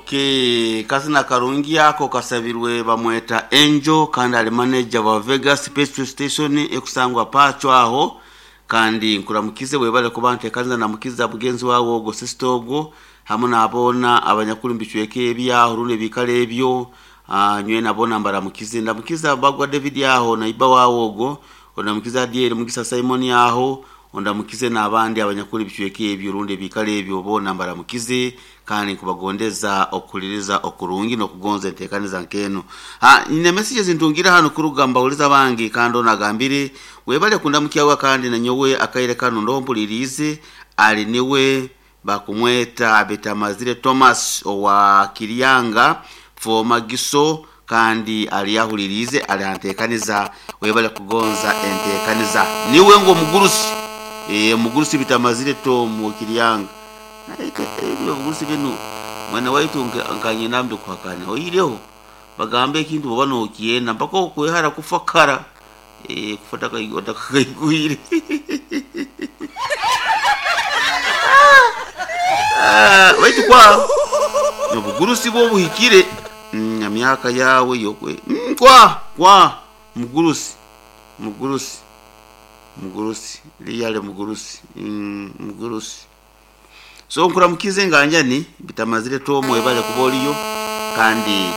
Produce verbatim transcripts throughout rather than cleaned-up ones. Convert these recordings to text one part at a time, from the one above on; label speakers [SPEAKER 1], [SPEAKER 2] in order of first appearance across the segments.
[SPEAKER 1] Okay, kazina karungi ako kasabirwe bamweta Angel kandi ali manager wa Vegas petrol station ekusangwa pacho aho kandi nkuramukize webale kuba ntekanza namukiza bugenzi wawe ogwo sister ogwo hamwe n'abona abanyakuru mbicweke ebyaho rundi ebikale ebyo uh, nywe nabona mbaramukize ndamukiza bagwa David aho naiba wawe ogwo ondamukiza Adiel Mugisa Simon aho ondamukize n'abandi abanyakuru ibicweke ebyo rundi ebikale ebyo bona mbaramukize kandi nkubagondeza okuliriza okurungi n'okugonza enteekaniza nk'eno. Ha nyine messages ntungira hano kuruga mbawuliza bangi kandi onagambire webale kundamukyawa kandi nanyowe akaire kano ndompulirize ali niwe bakumweta Betamazire Thomas owa Kiryanga former Giso kandi aliyahulirize alihantekaniza webale kugonza entekaniza niwe ngo mugurusi e, mugurusi Bitamazire Tom wa Kiryanga obugurusi binu mwana waitu nkanye nambi kuhakana oyireho bagambe ekintu oba nokyenda mpaka okwehara kufakara e, kufa otakaigwire. Ah, waitu kwa obugurusi bwo buhikire mm, emyaka yawe yokwe mm, kwa kwa mugurusi mugurusi mugurusi liyale mugurusi mm, mugurusi. So nkuramukize nganjani Bitamazire Tom webale kuba oliyo kandi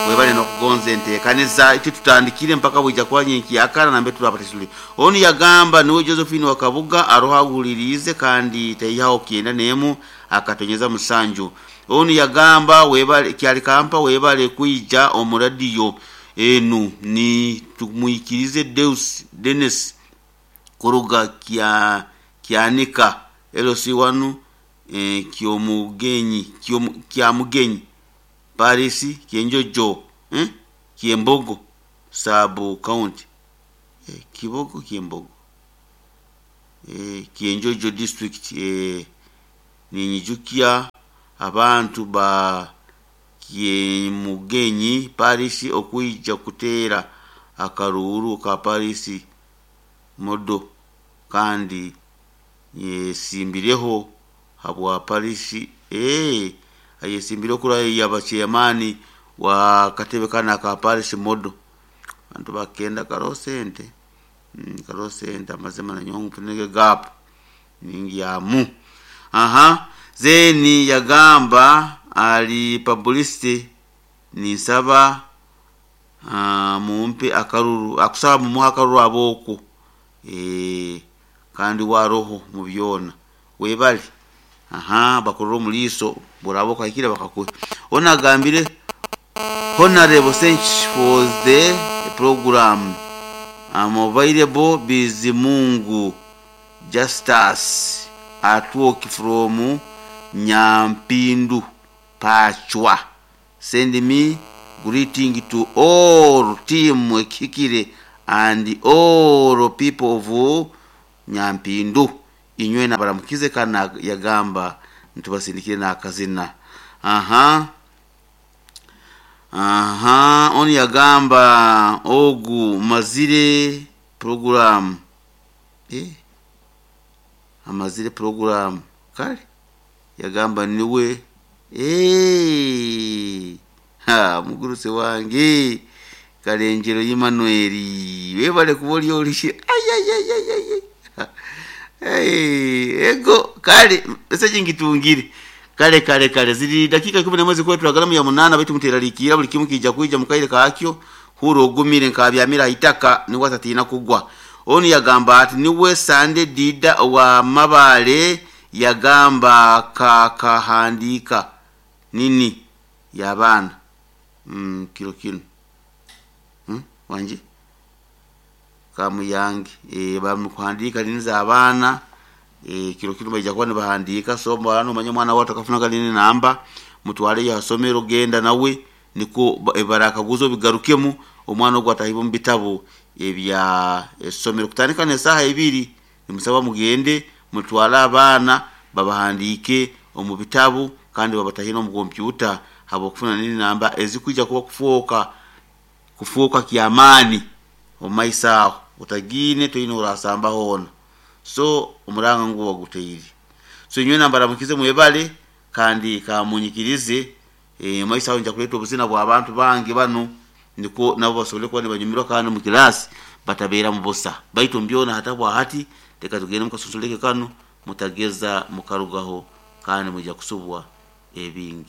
[SPEAKER 1] webale nokugonza enteekaniza iti tutandikire mpaka bwija kwanye nkiyakara nambe turabatisuli onu yagamba niwe Josephine Wakabuga arohagulirize kandi taihaho kyenda nemu akatonyeza musanju. Onu yagamba webale kyali kampa webale kwija omu radio enu ni tumuikirize Deus Dennis kuruga kya kyanika L C one eh, kyomugenyi kyomu, kyamugenyi Paris kyenjojo eh? Kyembogo sabu county eh, Kibogo Kyembogo eh, Kyenjojo district eh, ninyijukia abantu ba Kyemugenyi Paris okuija kuteera akaruuru ka Paris modo kandi yesimbireho habwa Paris eh ayesimbireho kura yaba chairman wa katebe kana ka Paris modo bantu bakenda karo sente mm, karo sente amazima na nyongo punege gap ningi yamu. Aha zeni yagamba ali publicity ninsaba uh, mumpe akaruru akusaba mumuha akaruru aboko eh kandi wa roho mu byona webale. Aha bakorera omuliso burabo kahikira bakakuha. Onagambire honorable, thanks for the program, I'm available Bizimungu Justus at work from Nyampindu Pachwa, send me greeting to all team Kikire and all people of Nyampindu. Inywe na baramukize kana yagamba ntubasindikire n'akazina. Aha aha oni yagamba ogu mazire program eh amazire program kale yagamba niwe eh ha muguruse wange Kalenjero Emmanuel webale kuboli olishi ay ay ay ay ay hey, ego kale message ngitungire kale kale kale ziri dakika kumi na mwezi kwetu agalamu ya munana baitu muteralikira buli kimu kija kuija mukaire kakyo huro ogumire nkabyamira itaka niwe atatina kugwa. Onu yagamba ati niwe Sande Dida wa Mabale yagamba kakahandika nini yabana mm, kilo kino mm, wanje kamuyange e, bamukuhandika nini za abana e, kilo kino baija kuba nibahandika so mwana omanye omwana wawe takafuna nini namba mutwale yasomero genda nawe niko barakaguza obigarukemu omwana ogwo atahibwa omu bitabo ebya esomero kutandika n'esaaha ibiri nimusaba mugende mutwale abaana babahandike omu bitabu kandi babatahire omu kompyuta habwokufuna nini namba ezikwija kuba kufuuka kufuuka kyamaani omu maiso aho otagiine toine orasamba hoona so omuranga ngu waguteire. So inywe nambaramukize mwebale kandi kamunyikirize. E, maiso aho nja kuleeta obuzina bw'abantu bange banu, nikwo nabo basobole kuba nibanyumirwa kandi mu kilasi batabeeramu busa. Baitu mbyona hatabwa hati, leka tugende mukasunsuleke kanu, mutageza mukarugaho kandi mwija kusubwa ebingi.